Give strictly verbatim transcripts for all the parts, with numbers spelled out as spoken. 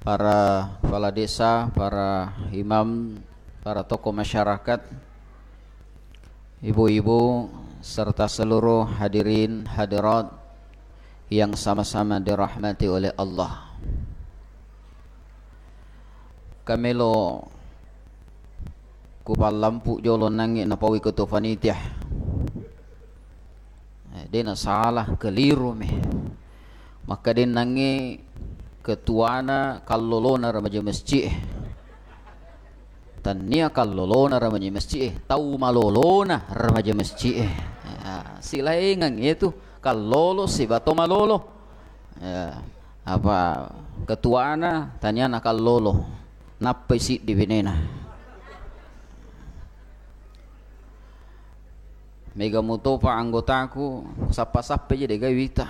para kepala desa, para imam, para tokoh masyarakat, ibu-ibu, serta seluruh hadirin hadirat yang sama-sama dirahmati oleh Allah. Kamelo kupallampu jolo nangnge napaui ketua panitia. Eh, de nasala, keliru mi. Makkedennangnge ketuana kallolona remaja masjid e. Tannia kallolona remaja masjid e, tau malolona remaja masjid e. Ya, silaingeng itu kallolo sibawa to malolo. Ya, apa ketuana taniana kallolo. Nappai siddi benena. Mega mutopa anggotaku, sappa-sappa je de gawe wita.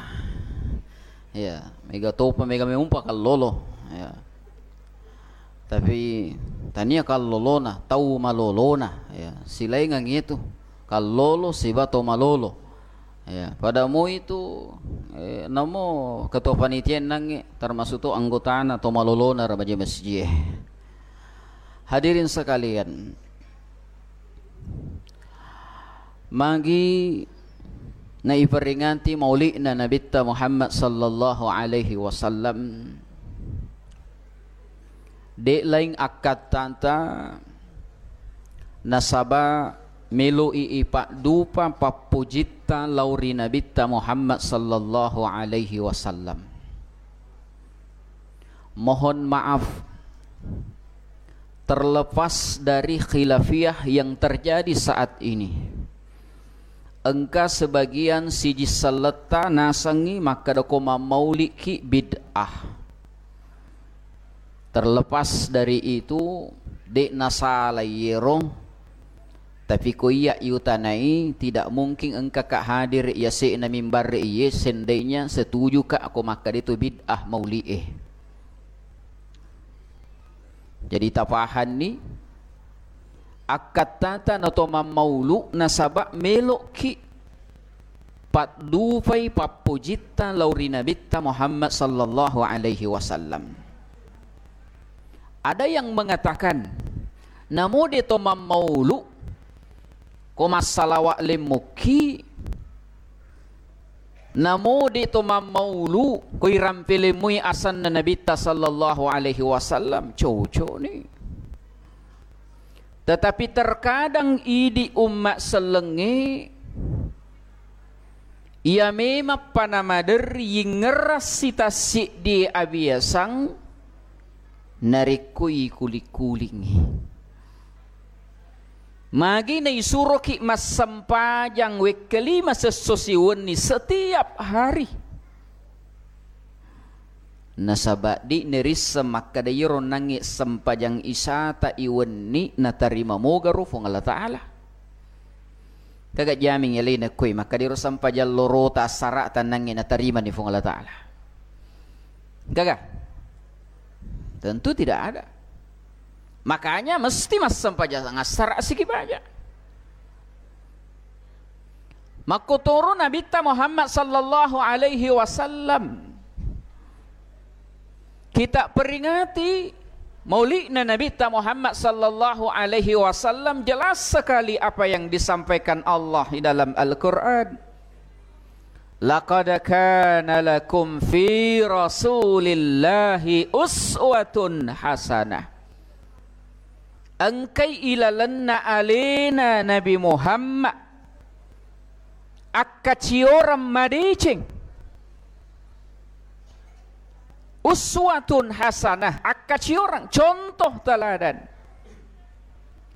Ya, mega topa, mega memumpa kallolo. Ya. Tapi tania kallolona, tau malolona. Ya, silaingeng itu. Kallolo sibawa to malolo. Ya, pada mu itu, eh, namo ketua panitia nangnge, termasuk to anggotana to malolona remaja masjid. Hadirin sekalian, magi naiperingati mauli'na Nabitta Muhammad sallallahu alaihi wasallam, de laing akkattata nasaba meloi ipa'dupa pappujitta lao ri Nabitta Muhammad sallallahu alaihi wasallam. Mohon maaf, terlepas dari khilafiyah yang terjadi saat ini, engka sebagian siji selletta nasengngi makkeda ko mammauliki bid'ah. Terlepas dari itu, de nasala yero. Tapi ko iya iutanai, tidak mungkin engkaka hadir yase'na mimbar iye, seandainya setujuka ko makkeda itu bid'ah mauli'e. Jadi tapahanni, akkattata nato mammaulu nasaba meloki paddupai pappujitta lao ri Nabitta Muhammad sallallahu alaihi wasallam. Ada yang mengatakan, namo de to mammaulu, ko massalawa lemmukki, namo de to mammaulu, ko irampe lemmui asanna Nabitta sallallahu alaihi wasallam, cocok ni. Tetapi terkadang idi umma sellengnge, iya memang pana maderri yingngerang sitassiddi abiasang narekko ikuling-kulingngi. Magi naisuroki massempajang wekka lima sesso siwenni setiap hari. Nasaba de nerisseng makkeda iyaro nangnge sempajang isata iwenni natarima mogaro Puang Allah Ta'ala. Kaga jaming alena koi makkeda iyaro sempajang lorota assara'ta nangnge natarimani Puang Allah Ta'ala. Gaga? Tentu tidak ada. Makanya mesti massempajang assara siki baja. Makkotoro Nabitta Muhammad sallallahu alaihi wasallam. Kita peringati mauli'na Nabitta Muhammad sallallahu alaihi wasallam, jelas sekali apa yang disampaikan Allah di dalam Al-Quran. Laqad kana lakum fi Rasulillahi uswatun hasanah. Engkai ilalenna alena Nabi Muhammad akkacioreng madeceng. Uswatun hasanah, akkacioreng, contoh teladan.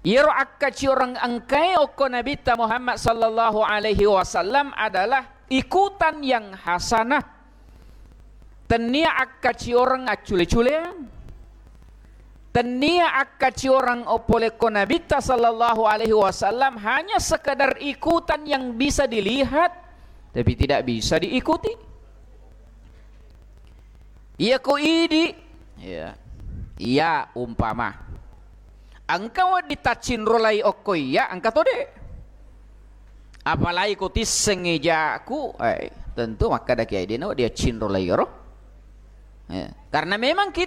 Iyaro akkacioreng engkae okko Nabitta Muhammad sallallahu alaihi wasallam adalah ikutan yang hasanah. Tennia akkacioreng accule-culeang. Tennia akkacioreng oppolekko Nabitta sallallahu alaihi wasallam hanya sekedar ikutan yang bisa dilihat tapi tidak bisa diikuti. Iya ko idi, iya. Iya umpama. Engka wedding taccinrolai okko iya, engka to de. Apalagi ko tissengngi jaku, eh, tentu makkeda kiai de nawedding accinrolai ero. Ya. Karena memang kita